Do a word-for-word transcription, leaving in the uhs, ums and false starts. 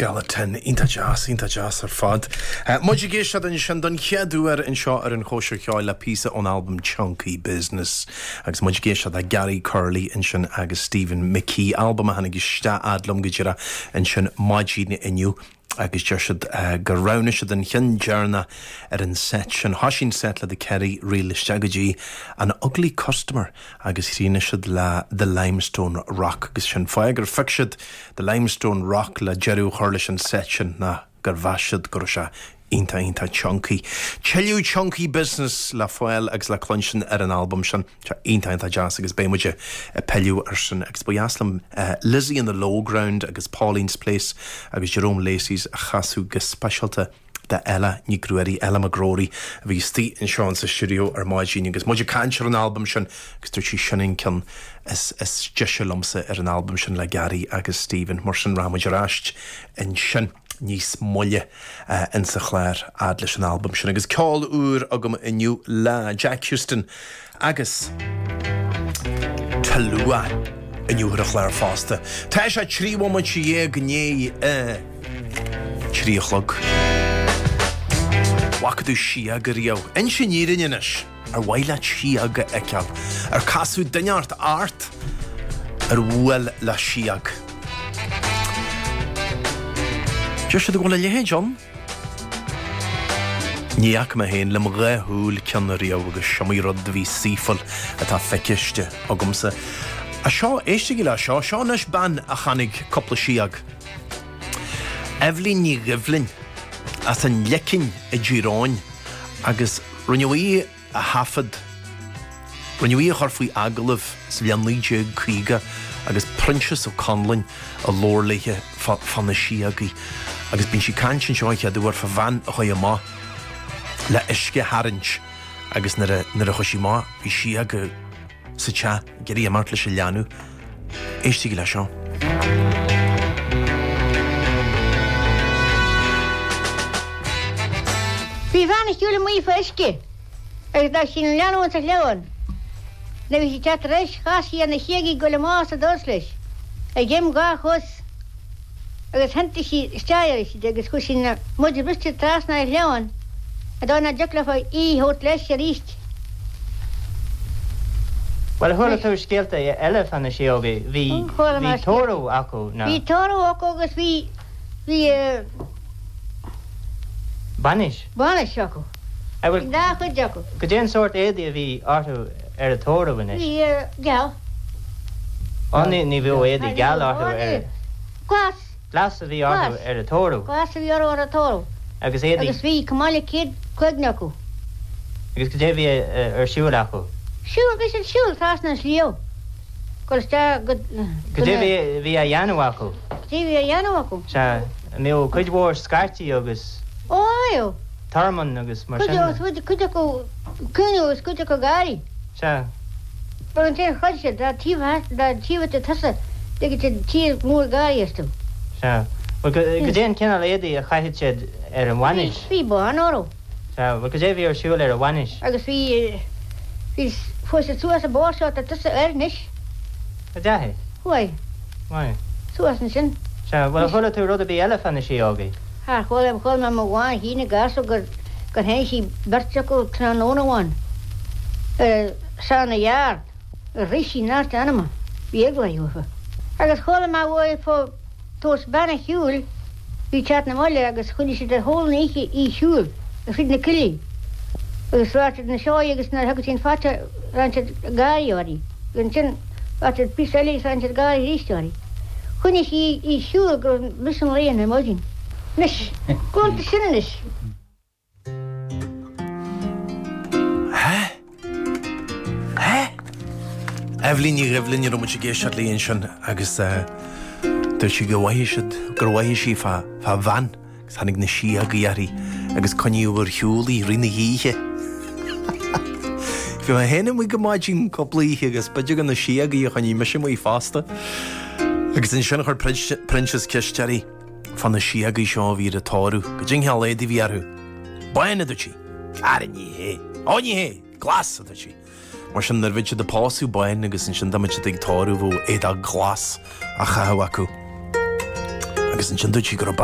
Skeleton iontach deas iontach deas ar fad. Muid ag éisteacht ansin don chéad uair anseo ar an Chóisir Cheoil le píosa ón albam Chunky Business agus muid ag éisteacht le Gary Curley ansin agus Stephen McKee albam a tháinig isteach fhad liom go díreach ansin maidin inniu agus deir siad gur roghnaigh siad an ceann deireanach ar an set sin. Thosaigh an set le The Kerry Reel isteach go dtí an Ugly Customer agus chríochnaigh siad le The Limestone Rock agus sin fáth gur phioc siad The Limestone Rock le deireadh a chur leis an set sin ná gur mheas siad go raibh sé iontach iontach chunky. Tuilleadh chunky business le fáil agus le cluinstin ar an albam sin Tá iontach iontach deas agus beidh muid ag pilleadh air sin agus ba dheas liom Lizzie in the Low Ground agus Pauline's Place agus Jerome Lacey's a chasadh go speisialta d'Ella Ní Ghruairí Ella McGrory a bhí istigh anseo sa stiúideo ar maidin agus muid ag caint ar an albam sin agus dúirt sí sin an ceann is is deise liomsa ar an albam sin le Gary agus Stephen mar sin rachaidh muid ar ais ansin níos moille uh, insa chlár fhad leis an albam sin agus ceol úr agam inniu le Jack Houston agus Talua inniu ar an chlár fosta. Tá sé trí bhomaite dhéag i ndiaidh trí a chlog. Bhfaca tú síog riamh. Inis an fhírinne anois ar mhaith leat síog a fheiceáil, ar casadh duine ort ort ar bhuail le síog. Deir siad go bhfuil a leithéid ann. Ní fhaca mé féin le mo dhá shúil ceann riamh agus is iomaí rud a bhí saoithiúil atá feiciste agamsa. A seo, éistigí le seo, seo anois bean a chonaic cúpla síog. Eibhlín Ní Dhoibhlin as an Leicinn i dTír Eoghain agus rinneadh í a thaifead. Rinneadh í a chur faoi agallamh sa bhliain naoi déag caoga agus Proinsias Ó Conluain a labhair léithe fá na síogaí agus bíonn sí ag caint anseo an chéad uair fá bhean a chuaigh amach le uisce a tharraingt agus nuair a nuair a chuaigh sí amach bhí síog sa teach ag iarraidh imeacht leis an leanbh. Éistigí le seo. Bhí bean ag siúl amuigh fá uisce agus d'fhág sí an leanbh insa chliabhán. Nuair a bhí sí ag teacht ar ais chas sí ar na síogaí ag goil amach as an doras leis, ag im dhá chos agus thiontaigh sí isteach uirthi agus chuaigh sí ina maide briste trasna ar shleamhain ar dóigh nach dtiocfadh leofa í a thabhairt leis aríst. Bhuel, chuala tú scéalta eile fá na síogaí? Bhí, Chuala bhí mé scéalta. tórramh acu, ná? Bhí tórramh acu agus bhí, bhí. Bainis? Bainis acu. An bhfuil. Bhí dhá chuid acu. Goidé an sórt éadaí a bhí orthu ar an tórramh anois? Bhí geal. Á ní, ní bheadh éadaí geal orthu ar. Glas. Glas a bhí orthu Glas. ar an tórramh. Glas a bhí orthu ar an tórramh. Agus éadaí. Agus bhí chomh maith le céad cloigne acu. Agus goidé a bhí ar siúl acu? Siúl, bhí siad ag siúl trasna an sliabh. Dul isteach go. Goidé a bhí, bhí á dhéanamh acu? Goidé a bhí á dhéanamh acu? Sea, an mbeadh cuid mhór scairtí agus. Ó, aye. Tormán agus mar Cuid sin de. cuid cuid acu ag caoineadh agus cuid acu ag gáirí. Sea. Mar ansin chreid siad dá dtchífeadh dá dtchífeadh siad tusa dtiocfadh siad tír mór gáirí astu. Sea. Bhuel, goidé an cineál éadaí a chaitheadh siad ar an Bhí bhainis? bhí bán orthu. Sea. Bhuel, goidé a bhí ar siúl ar an bhainis? Agus bhí bhí chuaigh siad suas an bóthar seo atá tusa air anois. An ndeachaigh? Chuaigh. Maith. Suas ansin. Sea. Bhuel, ar chuala tú rud ar bith eile fá na síógaí? Char chuala, chuala mé mo bhean féin ag casadh gur gur tháinig sí beirt acu tráthnóna amháin ar son a yard gur rith sí neart anama, bhí eagla uirthi uathu. Agus chuala mé uaidh fá tabhairt bean ar shiúl, bhí teacht na mbaile agus choinnigh siad ar shiúl an oíche í shiúl thríd na coillí agus radh siad na seoigh agus nuair a thugadh sí an fata rinne siad gáirí uirthi agus ansin radh siad píosa eile agus rinne siad gáirí arís uirthi. Choinnigh sí í shiúl go raibh mise an lae ar maidin. Anois, go sin anois. Hé? Hé? Eibhlín Ní Dhoibhlin a raibh muid ag éisteacht léi ansin agus dúirt sí go bhfaigheadh siad, gur mhothaigh sí fá, fá bhean agus tháinig na síogaí uirthi agus coinníodh ar shiúl í i rith na hoíche. Bhí mé féin amuigh go maidin cúpla oíche agus b'fhéidir gur na síogaí a choinnigh mise amuigh fosta. Agus ansin chuir Proinsias ceist uirthi fá na síogaí seo a bhí ar an tórramh, goidé an cineál éadaí a bhí orthu. Bán, a dúirt sí. Ara ní hé. Ó ní hé! Glas, a dúirt sí. Mar sin nuair a bheadh siad ag pósadh bán agus ansin dá mbeadh siad ag tórramh bheadh éadach glas á chaitheamh acu. Agus ansin dúirt sí go raibh